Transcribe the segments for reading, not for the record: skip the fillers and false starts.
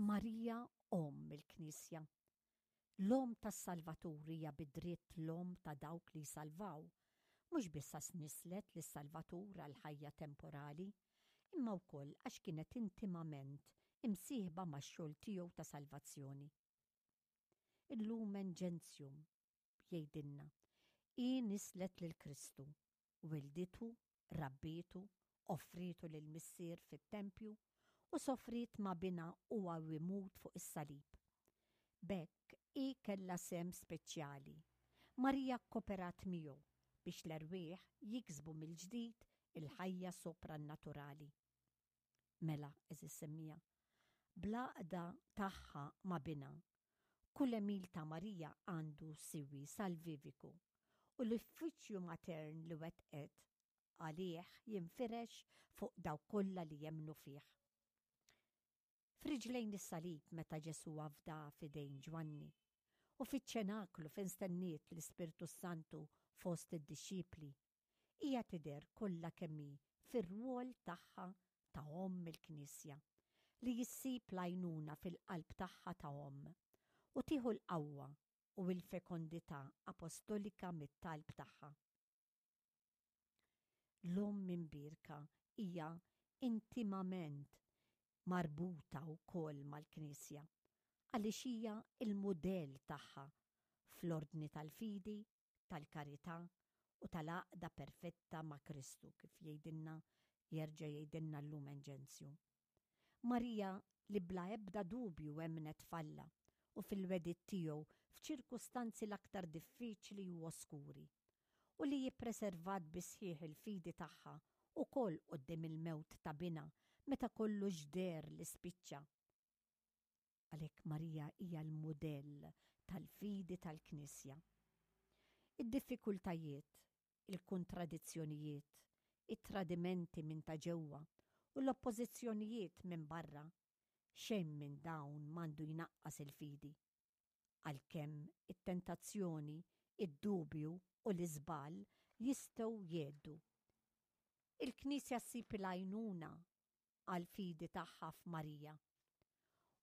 Marija Omm il-Knisja. L-Omm tas-Salvatur hija bi dritt l-Omm ta' dawk li jsalvaw, mhux biss għax nisslet lis-Salvatur għall-ħajja temporali, imma wkoll għax kienet intimament imsieħba max-xogħol tiegħu ta' salvazzjoni. Il-Lumen Gentium jgħidilna, Hi nisslet lil Kristu, wilditu, rabbietu, offrietu lill-Missier fit-tempju, u sofriet ma' Binha huwa u jmut fuq is-salib. B'hekk, hi kellha sehem speċjali. Marija kkoperat miegħu biex l-erwieħ jiksbu mill-ġdid il-ħajja soprannaturali. Mela, għeżież semmiegħa, bl-għaqda tagħha ma' Binha, kull għemil ta' Marija għandu siwi salviviku, u l-uffiċċju matern li wettqet għalih jinfirex fuq dawk kollha li jemmnu fih. F'riġlejn is-salib meta Ġesù afda f'idejn Ġwanni, u fiċ-ċenaklu fejn stenniet l-Ispirtu s-Santu fost id-dixxipli, hija tidher kollha kemm hi fir-rwol tagħha ta' Omm il-Knisja, li issib l-għajnuna fil-qalb tagħha ta' omm, u tieħu l-qawwa u l-fekondità apostolika mit-talb tagħha. L-Omm Imbierka hija intimament marbuta wkoll mal-Knisja, għaliex hija l-mudell tagħha fl-ordni tal-fidi, tal-karità u tal-għaqda perfetta ma' Kristu, kif jgħidilna jerġa' jgħidilna l-Lumen Gentium. Marija li bla ebda dubju emmnet f'Alla u fil-wegħdiet tiegħu f'ċirkustanzi l-aktar diffiċli u oskuri, u li ippreservat bis-sħiħ il-fidi tagħha wkoll quddiem il-mewt ta' binha meta kollox deher li spiċċa. Għalhekk Marija hija l-mudell tal-fidi tal-Knisja. Id-diffikultajiet, il-kuntradizzjonijiet, it-tradimenti minn ta' ġewwa u l-oppożizzjonijiet minn barra, xejn minn dawn m'għandu jnaqqas il-fidi. Għalkemm it-tentazzjoni, id-dubju u l-iżball jistgħu jgħeddu. Il-Knisja ssib il-għajnuna għall-fidi tagħha f'Marija.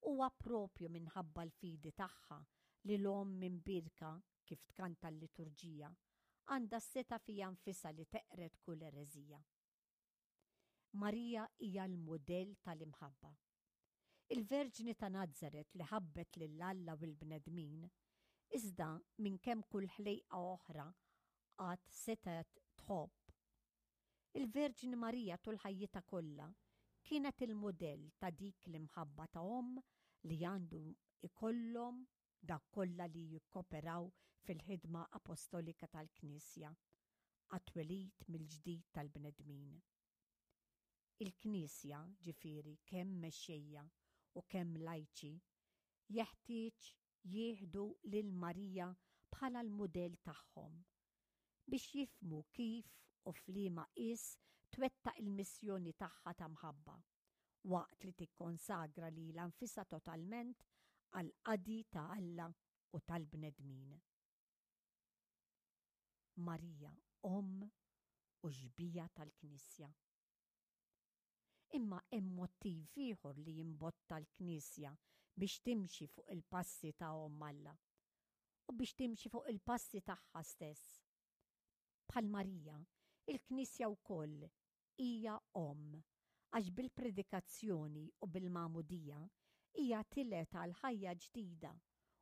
Huwa proprju minħabba l-fidi tagħha li l-Omm Imbierka, kif tkanta l-liturġija, għandha s-setgħa fiha nfisha li teqred kull ereżija. Marija hija l-mudell tal-imħabba. Il-Verġni ta' Nazaret li ħabbet lil Alla u l-bnedmin, iżda minn kemm kull ħlejqa oħra qatt setgħet tħobb, Il-Verġni Marija tul ħajjitha kollha kienet il-mudell ta' dik l-imħabba ta' omm li għandu jkollhom dawk kollha li jikkoperaw fil-ħidma apostolika tal-Knisja għat-twelid mill-ġdid tal-bnedmin. Il-Knisja, ġifieri kemm mexxejja u kemm lajċi, jeħtieġ jieħdu lil Marija bħala l-mudell tagħhom, biex jifhmu kif u f'liema qies twettaq il-missjoni tagħha ta' mħabba, waqt li tikkonsagra lilha nfisha totalment għall-qadi ta' Alla u tal-bnedmin. Marija, Omm u Xbieha tal-Knisja. Imma hemm mottiv ieħor li jimbotta l-Knisja biex timxi fuq il-passi ta' Omm Alla u biex timxi fuq il-passi tagħha stess. Bħal Marija, il-Knisja wkoll hija omm għax bil-predikazzjoni u bil-magħmudija hija tilgħet għal ħajja ġdida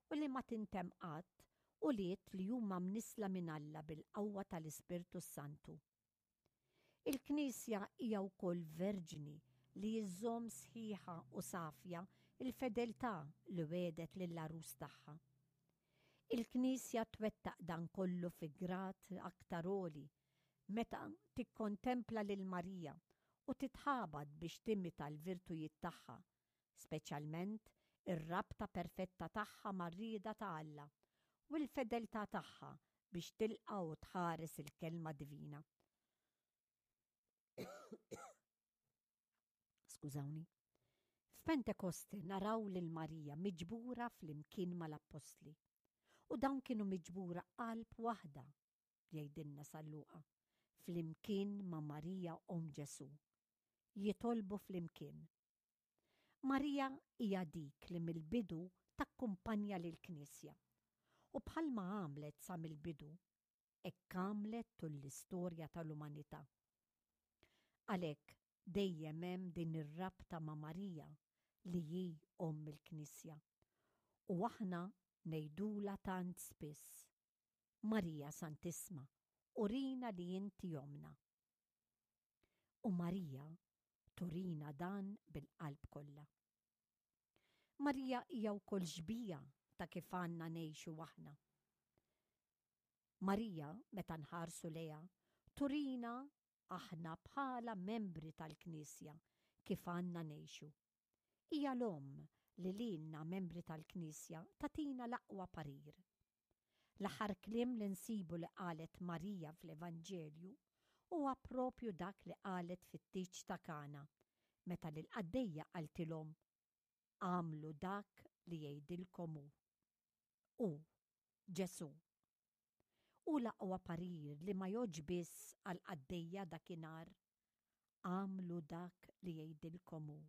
u li ma tintemm qatt ulied li huma mnissla minn Alla bil-qawwa tal-Ispirtu s-Santu. Il-Knisja hija wkoll verġni li żżomm sħiħa u safja l-fedeltà li wegħdet lill-Għarus tagħha. Il-Knisja twettaq dan kollu fi grad aktar għoli meta tikkontempla lil Marija u titħabat biex timita l-virtujiet tagħha, speċjalment ir-rabta perfetta tagħha mar-rieda ta' Alla u l-fedeltà tagħha biex tilqa' u tħares il-Kelma Divina. Skużawni. F'Pentekoste naraw lil Marija miġbura flimkien mal-appostli. U dawn kienu miġbura qalb waħda, jgħidilna San Luqa, flimkien ma' Marija omm Ġesù. Jitolbu flimkien. Marija hija dik li mill-bidu takkumpanja lill-Knisja. U bħalma għamlet sa mill-bidu, hekk għamlet tul l-istorja tal-umanità. Għalhekk dejjem hemm din ir-rabta ma' Marija li hi Omm il-Knisja. U aħna ngħidulha tant spiss, Marija Santissma, urina li inti ommna. U Marija turina dan bil-qalb kollha. Marija hija wkoll xbieha ta' kif għandna ngħixu aħna. Marija, meta nħarsu lejha, turina aħna bħala membri tal-Knisja kif għandna ngħixu. Hija l-Omm li lilna membri tal-Knisja tagħtina l-aqwa parir. L-aħħar kliem li nsibu li qalet Marija fl-Evanġelju huwa propju dak li qalet fit-tieġ ta' Kana meta lill-qaddejja qaltilhom, Agħmlu dak li jgħidilkom hu. Hu, Ġesù. Hu l-aqwa parir li ma jgħoddx biss għall-qaddejja dakinhar, Agħmlu dak li jgħidilkom hu.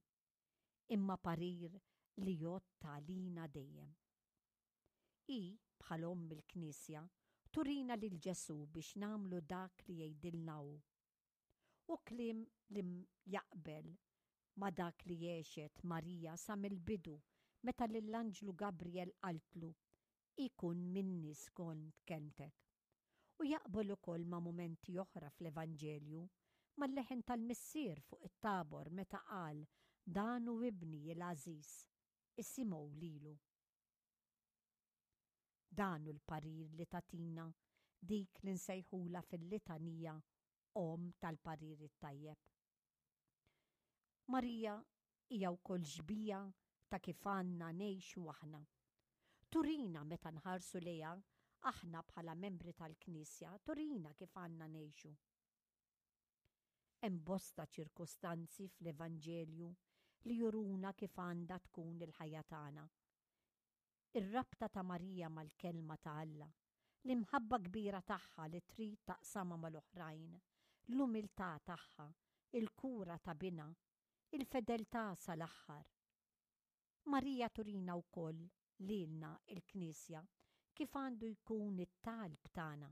Imma parir li jgħodd għalina dejjem. Hi, bħal Omm il-Knisja, turina lil Ġesù biex nagħmlu dak li jgħidilna hu. Hu kliem li jaqbel ma' dak li għexet Marija sa mill-bidu meta lill-anġlu Gabriel qaltlu, Ikun minni skont kelmtek. U jaqbel ukoll ma' mumenti oħra fl-Evanġelju, mal-leħen tal-Missier fuq it-Tabor meta qal, Dan hu Ibni l-għażiż, isimgħu lilu. Dan hu l-parir li tagħtina dik li nsejħulha fil-litanija Omm tal-parir it-tajjeb. Marija hija wkoll xbieha ta' kif għandna ngħixu aħna. Turina meta nħarsu lejha aħna bħala membri tal-Knisja, turina kif għandna ngħixu. Hemm bosta ċirkustanzi fl-Evanġelju li juruna kif għandha tkun il-ħajja tagħna. Ir-rabta ta' Marija mal-Kelma ta' Alla, l-imħabba kbira tagħha li trid taqsamha mal-oħrajn, l-umiltà tagħha, il-kura ta' binha, il-fedeltà sal-aħħar. Marija turina wkoll lilna l-Knisja kif għandu jkun it-talb tagħna.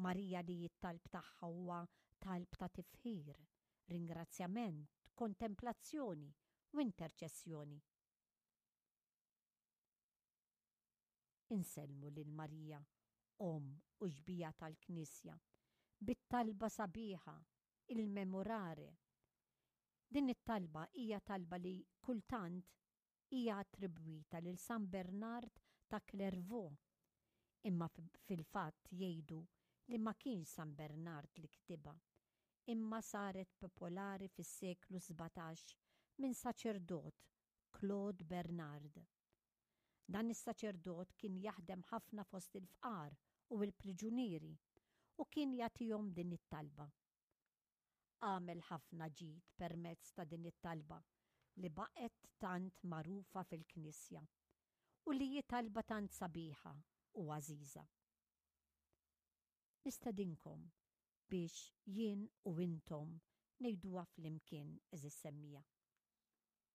Marija li t-talb tagħha huwa talb ta' tifħir, ringrazzjament, kontemplazzjoni u interċessjoni. Insellmu lil Marija, Omm u Xbieha tal-Knisja, bit-talba sabiħa, il-Memorare. Din it-talba hija talba li kultant hija attribwita lil San Bernard ta' Clairvaux, imma fil-fatt jgħidu li ma kienx San Bernard li kitibha, imma saret popolari fis-seklu 17 minn saċerdot Claude Bernard. Dan is-saċerdot kien jaħdem ħafna fost il-fqar u l-priġunieri u kien jagħtihom din it-talba. Għamel ħafna ġid permezz ta' din it-talba li baqgħet tant magħrufa fil-Knisja u li hi talba tant sabiħa u għażiża. Nistedinkom biex jien u intom ngħiduha flimkien, għeżież semmiegħa.